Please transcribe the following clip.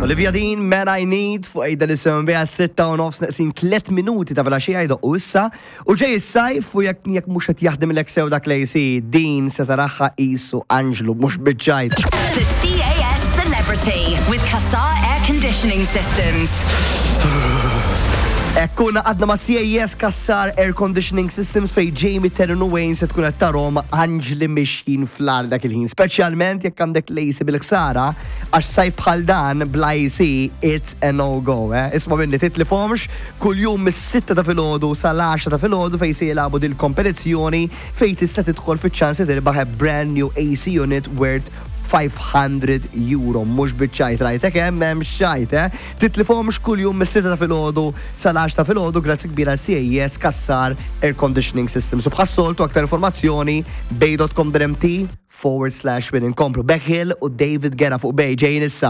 Olivia Dean, Man I Need, fuq ejda li semmen biha 6:30 neqsin 3 minuti ta' filgħaxija jdoqqu issa. U ġej is-sajf u jekk jekk mhux qed jaħdimlek sew dak l-AC, din se taraha qisu anġlu mhux biċ-ċajt. The CAS Celebrity with Cassar Air Conditioning Systems. Ekkuna għadna ma' CAS Cassar Air Conditioning Systems fej Jamie Terran u Wayne se tkun qed tarhom anġli mixjin fl-ar dak il-ħin. Speċjalment jekk għandek l-AC bil-ħsara, għax sajf bħal dan bla AC it's a no-go. Eh? Isma' minni titlifhomx kuljum mis-6 ta' filgħodu sal-10 ta' filgħodu fej se jilagħbu dil-kompetizzjoni fej tista' tidħol fiċ-ċans li tirbaħ a brand new AC unit worth €500. Mhux biċ-ċajt rajtek hemm hemm xajt, eh? Titlifhomx kuljum mis-6 ta' filgħodu sal-10 ta' filgħodu grazzi kbira CAS Cassar Air Conditioning System. So bħas-soltu aktar informazzjoni bay.com.mt/win. Inkomplu Beck Hill u David Guetta fuq Bay ġejjin issa.